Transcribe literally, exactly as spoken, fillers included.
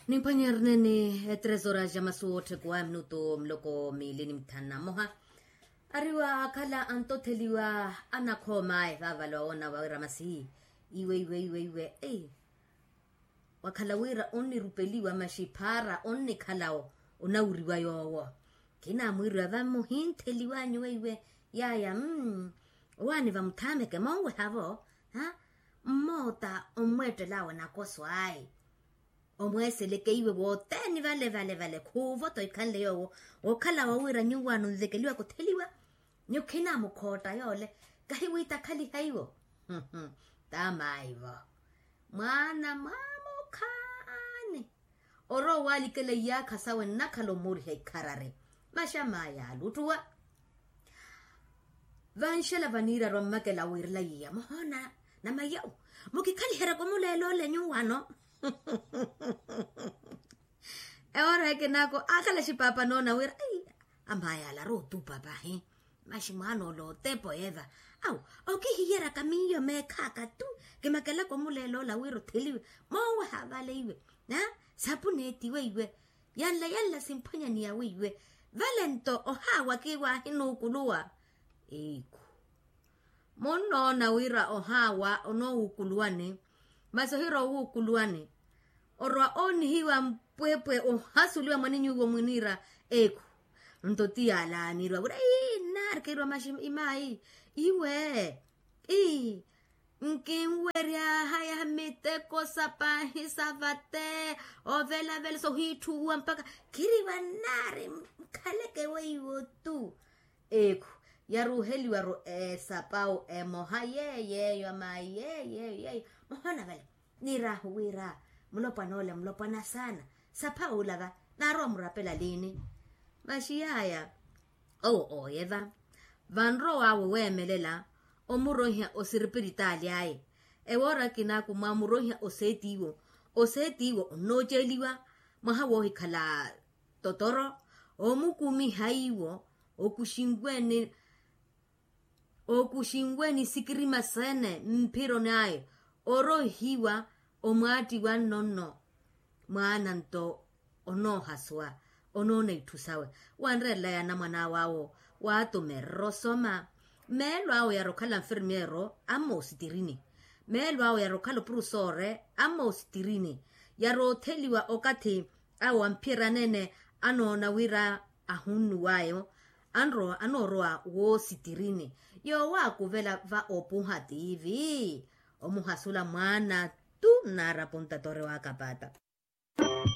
Nimphwanyerene ni etrezora ja masuwo otthekuwa minutu muloko miili ni mithanu na mmoha. Ariwa akhala antotheliwa anakhooma aye vavale wawoona wawira masi iwe iwe iwe iwe ei. Wakhala wira onnirupeliwa maxi phaara onnikhala onawuriwa yoowo. Khinamwiriwa vamuhintheliwanyu weiwe yaya mmm. Owaani vamuthameke monwehavo mmoota onmweettelaawe nakoso ayi. Omweeseleke iwe wothene vale vale vale khuuvo-tho ikhanle yoowo. Wookhala wawira nyuwaano nvekeliwa kutheliwa. Nyukhinamukhotta yoole kahiwiitakhaliha iwo. Taamaivo mwaana mwaamukhaani. Orowa owalikela iyaakha sawe nnakhala omuriha ikharari. Maxama yaaluttuwa vanxela vaniiraru ammakela awiirela yiya muhoona. Namayau mukikhaliheryaka omuleela ole nyuwano. Ewoora ekinako akhala xipaapa noona wira amaya alarowa otupa pahi. Maxi mwaana ole otepo eva awu okihiyeryaka miyo meekhaaka tu. Kimakelaka omuleela ola wira otheliwe moowaha vale iwe. Sapuneeti weiwe yanla yanla simphwanyani ya weiwe. Vale nto ohaawa kiwaahinuukuluwa. Eikhu munnoona wira ohaawa onoowuukuluwani. Masi ohira owuukuluwani orowa oonihiwa mpwepwe ohasuliwa mwaninyu iwo mwiniira. Eku nto ti yaala niiriwa wira ii nnaari kiiriwa maxi imaayi iwe ii nkinweryaha yaha miteko sa paahi sa vate ovelavela sohiitthuwa mpakha khiriwa nnaari nkhaleke weiwo tu. Ekhu yaruuheliwaru esapawu emoha yeeyo eyo amayi yeeyo eyo yeeyo. Muhoona vale niiraahu wira mulopwana ole mulopwana saana. Sapha ola va naarowa murapela liini? Maxi yaaya owo ooye va vanrowaawe weemelela omuroiha osiripiritaali aye. Ewoora akinaku mwamuroiha oseetiiwo oseetiiwo onnooceliwa mwaha woohikhala totoro omukumiha iwo okuxinweeni okuxinweeni sikirima seene mphironi aye oroihiwa omwaattiwa nnonno. Mwaana nto onoohasuwa onoona itthu sawe wanreerela yaana mwan'awe awo waatumererya osoma. Meelo awe yari okhala nfirimiyeero amma ositirini meelo awe yari okhala opurusoore amma ositirini. Yari otheliwa okathi awo amphiyeryaneene anoona wira ahunnuw'ayo anrowa anoorowa woositirini. Yoowaakuvela va opuha tiivi omuhasula mwaana tu nnaarapunta tore waakapaata.